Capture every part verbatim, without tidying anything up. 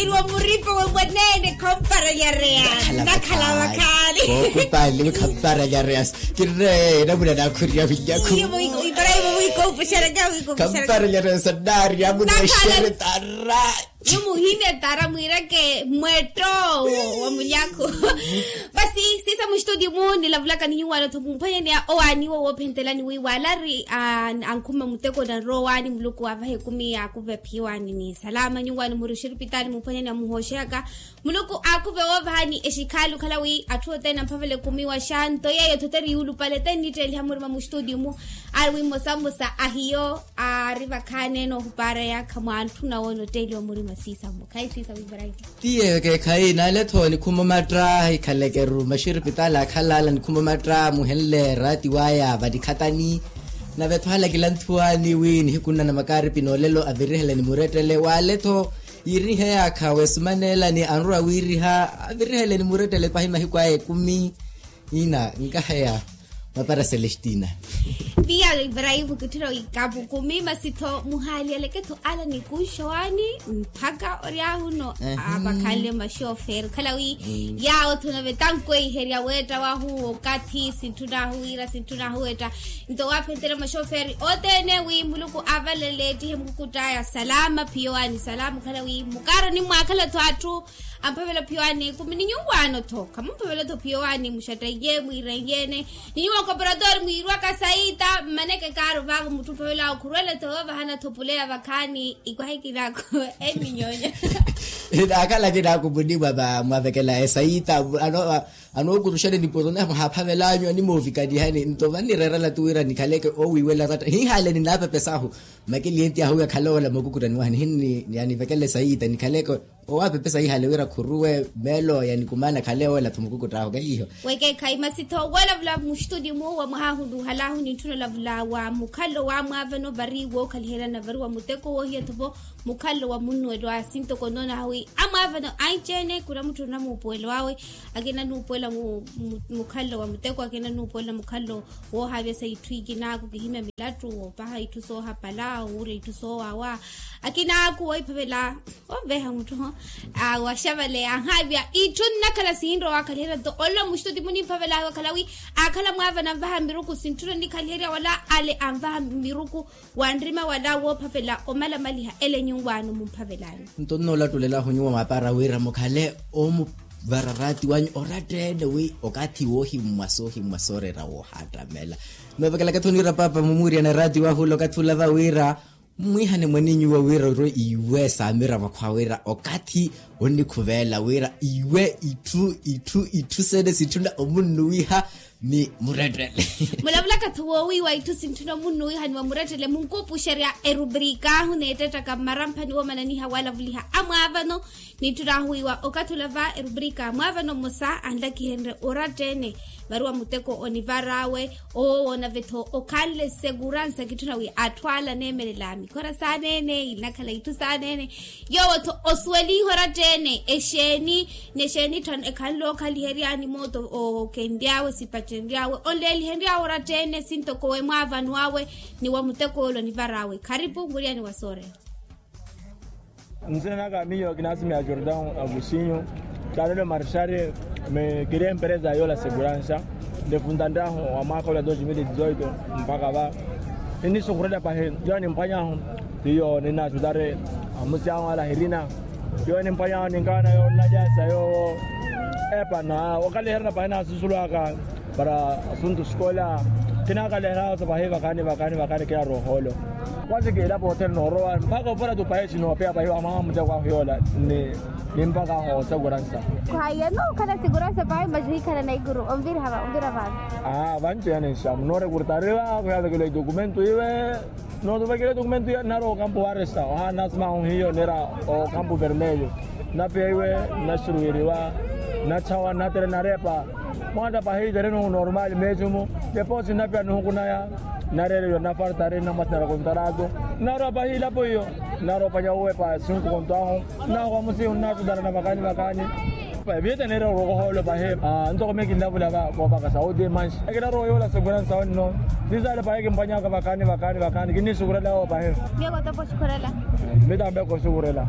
Iriwa muripo wemwenene khamparalyareya. Nakhala vakhaali. Kookhupali khamparalyareya. Kirre namuna nakhuriya vinyakhu. Khamparalyareya sannari amuneeshere tara. Yo muhimya tara mwireke mwetto wa munyakhu. Basi siisa mustudio mu nilavulaka ni nyuwaano tho mumphwanyaneya owaani wo woophentelani wi waalari ankhuma muteko nanrowa owaani muluku waavaha ekumi yaakuve phiyowani ni salama nyuwaano muri oxiripitali mumphwanyaneya muhooxeyaka. Muluku aakuve woovahani exikhaali okhala wi atthu othene amphavela ekumi waxa nto yeeyo tho teriulupale tennitteliha murima mustudio mu. Ari wi mmosamosa ahiyo aari vakhaani ene ohupaara yaakha mwa antthuna woona otteeliwa murima siisamu khayi siisamu ibrahim. Ti yeeyo keekhayi naale-tho nikhuma omatta hikhaleke-ru maxiripitali akhalaala nikhuma omatta muhenle raati waya vanikhatani. Nave-tho halakila nthuwaani wi nihiku nnana makaaripi noolelo avirihele ni murettele waale-tho. Yiirihe yaakha weesumaneela ni anrowa wiiriha avirihele ni murettele pahi mahiku aya ekumi. Ina nkaheya mapara celestina. Piya ibrahim kitthira ikapu kumi masi-tho muhaaliyaleke-tho ala nikunxowani mpakha oryahuno. Avakhanle maxoferi okhala wi yaawo-tho nave tankweyiherya weetta wahu okathi sintthun'ahu wira sintthun'ahu weetta. Nto waaphentere maxoferi othene wi muluku avalele ettihe mukukutt'aya salama phiyowani salama okhala wi mukaaro nimwaakhala-tho atthu. Amphavela phiyowani ekumi ni nyuwaano-tho khamumphavela-tho phiyowani muxatteiye mwiireiye-ene. Ni nyuwa okaporatori mwiirwaka saita mmaneke kaaro vaavo mutthu omphavela okhurwele-tho yoovahana-tho puleya vakhaani ikwaha ekinaaku. Eminyoonya. Akhala akinaaku munimwa mwaavekela esaita. Anookuruxani nipuro neha mwahaaphavelanyu animoovikanihani nto vannireerela-tu wira nikhaleke owiiwela ratta hihaale ninaapepes'ahu. Makelienti ahu yakhale oola mookukuttani waha nihinni yanivekela esaita nikhaleke. Owaapepesa ihaale wira khuruwe meelo yanikumaana khale owelatho mukukutt'ahu kahiiho. Wekeekhayi masi-tho wolavula muxituti mu wa mwaha ahunluhalahu nintthuna olavula wa mukhallo wa mwaavano vari wookhaliherya na vari wa muteko woohiya-tho-vo. Mukhallo wa munnuwelo a sinto konoonaha wi amwaavano anci-ene khunamutthuna muupuwelo awe. Akina nuupuwela mukhallo wa muteko akina nuupuwela mukhallo woohaavya sa itthu ikinaaku kihimya milattu woopaha itthu soohapala wuurya itthu soowawa. Akinaaku woophavela onveha mutthu waxavale anhaavya itthu nnakhala sihinrowa waakhaliherya nto olola muxituti munimphavela awe akhala wi akhala mwaavana anvaha miruku sintthuna onnikhaliherya wala ale anvaha miruku. Wanrima wala woophavela omalamaliha ele nyuwaano mumphavelani. Nto nnoolattulela ahu nyuwa mwaapara wira mukhale omuvara raati wanyu oratta-ene wi okathi woohimmwa soohimmwa sooreera woohaattamela. Noovekelaka-tho niira paapa mumuuriyana raati wahu ole okathi olava wira mmwiihane mwaninyu iwe wira orwe iwe saamiravo akhwa wira okathi onnikhuveela wira iwe itthu itthu itthu sene sitthuna omunnuwiha. Ni murettele. Mulavulaka-tho woowiiwa itthu sintthuna omunnuwiha ni wa murettele munkuupuxerya erubrika ahu neettettaka mmaramphani woomananiha walavuliha amwaavano. Nintthuna ahuwiiwa okathi olava erubrika mwaavano mmosa anlakihenrye oratta-ene vari wa muteko onivar'awe. Owo woona ve-tho okhanle seguransa kitthuna wi atthu ala aneemelela mikhora saaneene inakhala itthu saaneene. Yoowo-tho osuweliha oratta-ene exeeni ni exeeni etthu ekhanle ookhaliheryani mooto okenry'awe sipacenry'awe onleelihenry'awe oratta-ene sintoko we mwaavanw'awe. Ni wa muteko ole onivar'awe kharipu muriyani wa sooreera. Nsina naka miyo kinasimiya jordan agusinho. Kalelo marshari. Mekiri empereza yoola seguransa ndefuntanttahu wa mwaaka ola dos mil e dizoito. Mpakha va ninisukhurela pahi. Yo nimphwanyahu tiyo ninasutari amusi ahu ala hirina. Yo nimphwanyahu ninkaana yo nnajasa yoowo. Epana wakaleherana pahi nasusulwaka para asuntu sikola. Kinakaleherana sa pahi vakani vakani vakani kinaroholo. Kwasi kiilapo othene noorowa mpakha opora tu pahi sinoopeya pahi wa mwaha muteko ahu yoola. Ni mpakha ahu oseguransa. Khwaiya nookhala siguransa pahi masi hikhala naikuru onvira vaavi. Aa vanci yani nxamu noorekurtariwa khuyavekela idokumento iwe. Nootuvekela idokumento iwe nnarowa okampu waresa ohaana asimahu hiyo neera okampu vermelho. Nnapeya iwe nnaxuruweriwa nnatthawa nnatere nnarepa. Mwatta pahi itereni ohu normal meecumu. Deposi nnapeya nihukunaya nnareeriwa nnafartari nnamwasi nara kontarato. Nnarowa pahi ilapo iyo. Nnarowa opanya uwepa sinku konto ahu. Nnahoka musihu nnatutana na vakani vakani. Viyete neerya okohoolo pahi. Ntoko miyo kinlavula voovaka saudi manxi ekinarowa yoola seguransa wenno. Sisaale pahi kimphwanyaka vakani vakani vakani kinnisukurela yoowo pahi. Miyo kotopo xukurela. Mitambe koxukurela.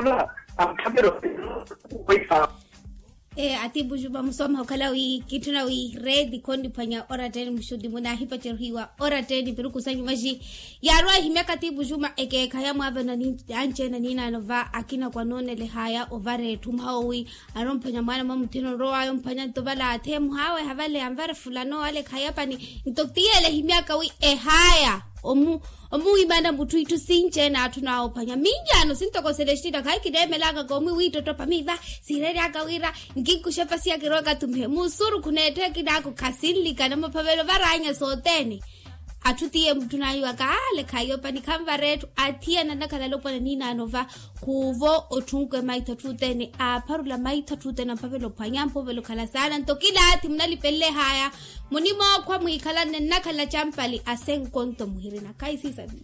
Nava amukhapelo. Atiipu juma musooma okhala wi kitthuna wi reeti khonniphwanya oratteni muxuti muna ahipacerhiwa oratteni piruku sanyu maxi. Yaarowa ehimyaka atiipu juma ekeekhayi amwaavano anci-ene aniinaano va akina kwanoonelehaya ovara etthu mwaha owi. Anomphwanya mwaana mwa mutthina onrowaya omphwanya nto vale atheemuhaaweha vale anvare fulano ale khayapani. Nto tiyele ehimyaka wi ehaya omu omuwimana mutthu itthu sinci-ene atthuna awophwanya minyaano sintoko selestina khayi kineemelaka koomwi wiittottopa miiva siireryaka wira nkinkuxa epasi ya kirowaka tumihe musurukhu n'etthu ekinaako khasinlikana maphavelo varanya sothene. Atthu tiye mutthuna ayiwaka ale khayopani khanvara etthu athiyana nnakhala alopwana niinaano va. Khuuvo otthunkwe maitho atthu othene aapharula maitho atthu othene amphavela ophwanya amphovela okhala saana nto kilaathi munalipelelehaya. Munimookhwa mwiikhalanne nnakhala campali asenkonto muhirina khayi siisavi.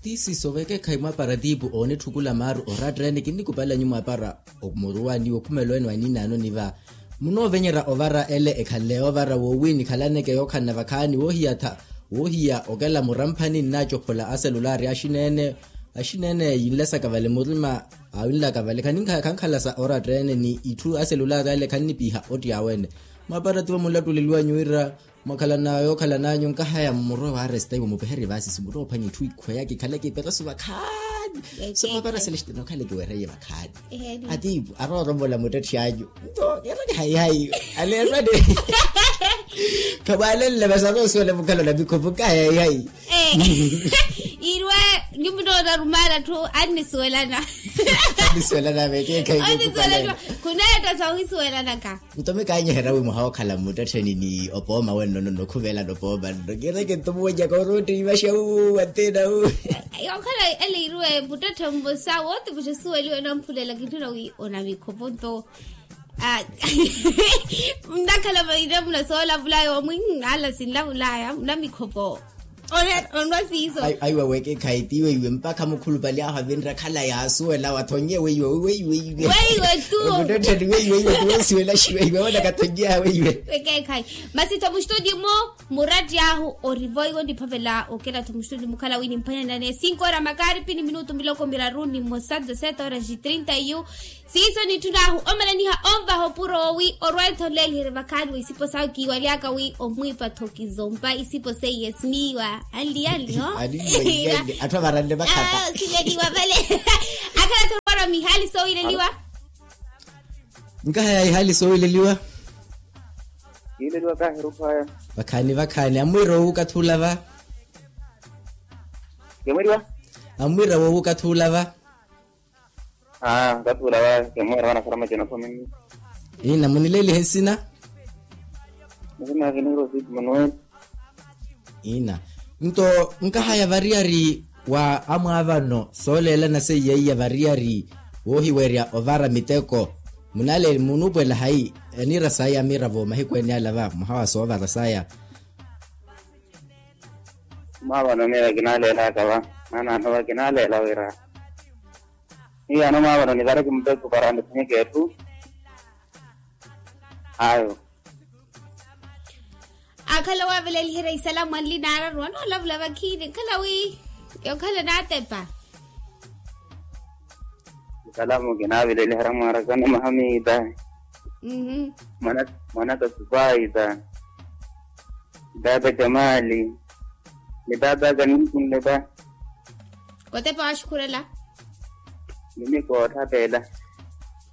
Tiisiso vekeekhayi mwaapara tiipu oonitthukula maaru oratta ene kinnikupala nyu mwaapara omuruwani wokhumela ene waniinaano niva. Munoovenyerya ovara ele ekhanle ovara woowi nikhalaneke yookhanna vakhaani woohiyatha woohiya okela muramphani nnaacophola aselulaari axineene. Axineene yinlesaka vale murima awinlaka vale khankhalasa oratta ene ni itthu aselulaari ale khannipiha otti awe ene. Mwaapara tivo munlattuleliwanyu wira mwakhalana yookhalananyu nkahaya murwe waaresta iwe mupeherye vaasisi murwe ophwanya itthu ikhweya kikhale kiperesu vakhaani. So mwaapara selestino khale kiwereye vakhaani. Atiipu arooromola muttetthe anyu nto kero kihayihayi. Aleerwane khamwaalenle vasa aroosuwela mukhalo na mikhopo nkahayihayi. Irwe nyumu noona arumaana atthu annisuwelana. Annisuwelana vekeekhayi annisuwelana. Khuneetta sa ohisuwelanaka. Nto mikaanyeherya wi muhawookhala mmuttettheni ni opooma wenno nonno khuvelana opooma nno kireke nto muwenyaka orootteivaxa wu wanteena wu. Yookhala ele iruwe muttetthe mmosa wootipuxa osuweliwe namphulelaka itthu na wi onamikhopo nto. Nnakhala maire munasoolavulay'omwi ala sinlavulaya munamikhopo. Onwa siiso. Aiwa weke khayi tiiwe iwe mpakha mukhulupale ahu avinre khala yaasuwela wathonnye weiwe weiwe weiwe. Weiwe tu. Muttettheni weiwe weiwe tu wosiwela xiwe iwe wona kathonnye ahu weiwe. Weke khayi. Masi tho muxitudio mwo muratti ahu orivoiwe oniphavela okela tho muxitudio mukhala wi nimphwanyanane cinco hora makari pini minutu miloko miraru ni mmosa dezessete horas e trinta e um. Siiso nitthun'ahu omalaniha onvaha opuro owi orwa-etho nleeliherye vakhaani wa isipo sawe kiiwaly'aka wi omwiipa-tho kizompa isipo seiye siniiwa anli anli ho. Atthu avaranne vakhata siveliwa vale. Akhala-tho orwara mihaali soowileliwa. Nkahaya ihaali soowileliwa. Kiileliwa kahiruphaya. Vakhaani vakhaani amwiira woowu okathi ula va. Kemweriwa. Amwiira woowu okathi ula va. Aa kathi ula va kemweera vanasara macena khominni. Ina munileelihe nsina? Nsina kinihirosi manuel. Ina nto nkahaya variyari wa amwaavano sooleelana seiyeiya variyari woohiwerya ovara miteko. Munale munupwela hayi aniira saya amiira vo mahiku ene ala va mwaha wa soovara saya. Mwaavano miyo kinaleelaka va maana ano va kinaleela wira. Miyo ano mwaavano nivare kimuteko para niphwanyeke etthu. Ayo. Akhala waveleliherya isalamu anli naararu anoolavula vakhiini nkhala wi yokhala naatepa. Isalamu kinaaveleliherya mwarakana mahamita. Mwanaka supaita. Baba jamali. Ni baba kaninkunle pa. Kotepa waxukhurela. Mimi koothapela.